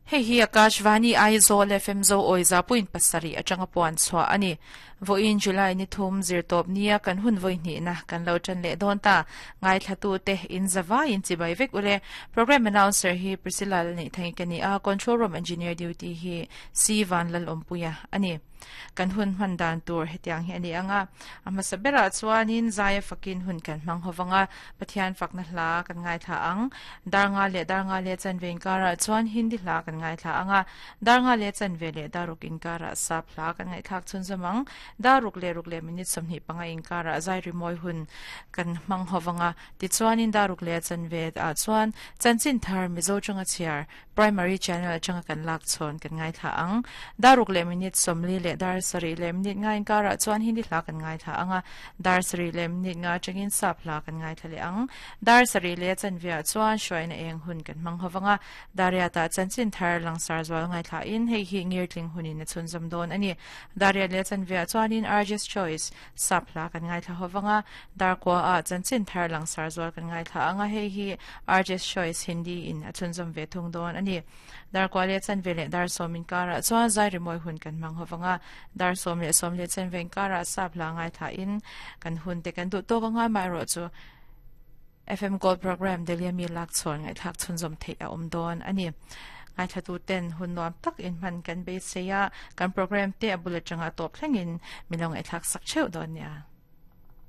Hei hi Akashvani Aizawl FM Zo Awiza point pasarih atanga puan chhuah a ni. Vawiin July ni thum zirtawp nia kan hun vawi hnihna kan lo tan leh dawn ta. Ngaithlatute in zavaiin chibai vek ule. Programme announcer hi Priscilla Lalneihthangik a ni a, Control Room Engineer duty hi C Vanlalawmpuia a ni. Kan hun hman dan tur hetiang hi a ni ang a, a hmasa berah chuanin Zaia fakin hun kan hmang ho vang a, Pathian fakna hla kan ngaithla ang. Dar nga leh dar nga leh chanve inkarah chuan Hindi hla kan ngaithla ang a, dar nga leh chanve leh dar ruk inkarah Sap hla kan ngaihthlak chhunzawm ang. Dar ruk leh ruk leh minute 25 inkarah zai rimawi hun kan hmang ho vang a, tichuanin dar ruk leh chanve ah chuan chanchin thar Mizo tanga chhiar Primary channel atanga kan lak chhawn kan ngaithla ang. Dar ruk leh minute 40 leh dar sarih leh minute nga inkarah chuan Hindi hla kan ngaithla ang a, dar sarih leh minute nga atangin Sap hla kan ngaithla leh ang. Dar sarih leh chanveah chuan hruaina eng hun kan hmang ho vang a, Dariatah chanchin thar langsar zual ngaithlain hei hi ngirtling hunin a chhunzawm dawn a ni. Dariat leh chanveah chuanin Arj's Choice Sap hla kan ngaithla ho vang a, Darkuaah chanchin thar langsar zual kan ngaithla ang a, hei hi Arj's Choice Hindi in a chhunzawm ve thung dawn a ni. Darkua leh chanve leh dar sawm inkarah chuan zai rimawi hun kan hmang ho vang a, dar sawm leh sawm leh chanve inkarah sap hla ngaithla in kan hun te kan duh tawk ang a, amaherawhchu FM Gold Programme Delhi ami lak chhawn ngaihthlak chhunzawm theih a awm dawn a ni. Ngaithlatu ten hun nuam tak in hman kan beisei a, kan programme te a bul atanga tawp thlengin min lo ngaihthlak sak theuh dawn nia.